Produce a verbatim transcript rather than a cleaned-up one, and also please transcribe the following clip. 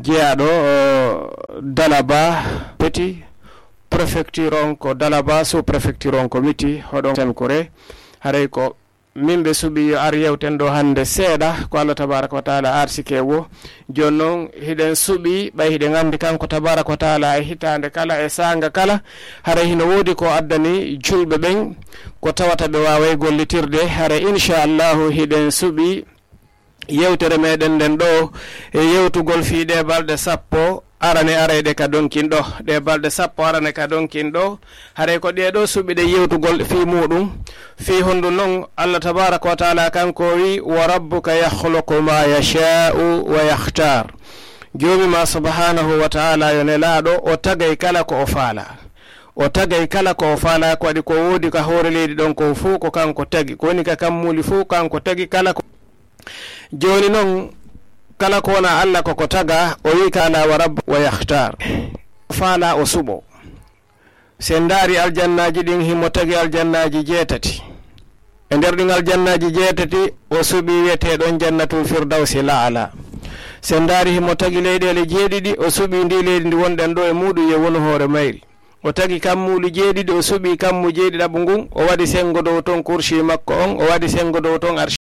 Jeyaaɗo, o, Dalaba Petit, préfecture on ko Dalaba, sous-préfecture on ko Miti, hoɗon Sankore. Haray ko min ɓe suɓi yo ar yewten ɗo hannde seeɗa, ko Allah tabaraka wa taala arsike wo. Jooni noon, hiɗen suɓi, ɓay hiɗen anndi kanko tabaraka wa taala e hitaande kala, e saanga kala, haray hino woodi ko addani julɓe ɓen, ko tawata ɓe waaway gollitirde. Haray, inchallahu, hiɗen suɓi yewtere meɗen nden ɗo, e yewtugol fii ɗe balɗe sappo arane arayɗe ka donkin ɗo. Ɗe balɗe sappo arane ka donkin ɗo, haray ko ɗe ɗo suɓiɗe yewtugol fii muɗum. Fii hondu non Allah tabaraka wa taala kanko wi, "Wa rabbuka yakhluqu ma yasha'u wa yakhtar." Joomi ma subhanahu wa taala yo nelaaɗo, o tagay kala ko o faala. O tagay kala ko o faala, ko waɗi ko woodi ka hoore leydi ɗon ko fow ko kanko tagi. Ko woni ka kammuuli fow kanko tagi kala ko Jooni non, kala ko wona Allah ko ko taga, o wi, "Qala wa rabb wa yakhtar." Faala o suɓo. Si en ndaari aljannaaji ɗin, himo tagi aljannaaji jeetati. E nder ɗin aljannaaji jeetati, o suɓi wi'eteeɗon Jannatul Firdawsi La'ala. Si en ndaari himo tagi leyɗeele jeeɗiɗi, o suɓi ndi leydi ndi wonɗen ɗo e muuɗum, yo wonu hoore mayri. O tagi kammuuli jeeɗiɗi, o suɓi kammu jeeɗiɗaɓu ngun, o waɗi sengo dow ton kursi makko on, o waɗi sengo dow ton arshi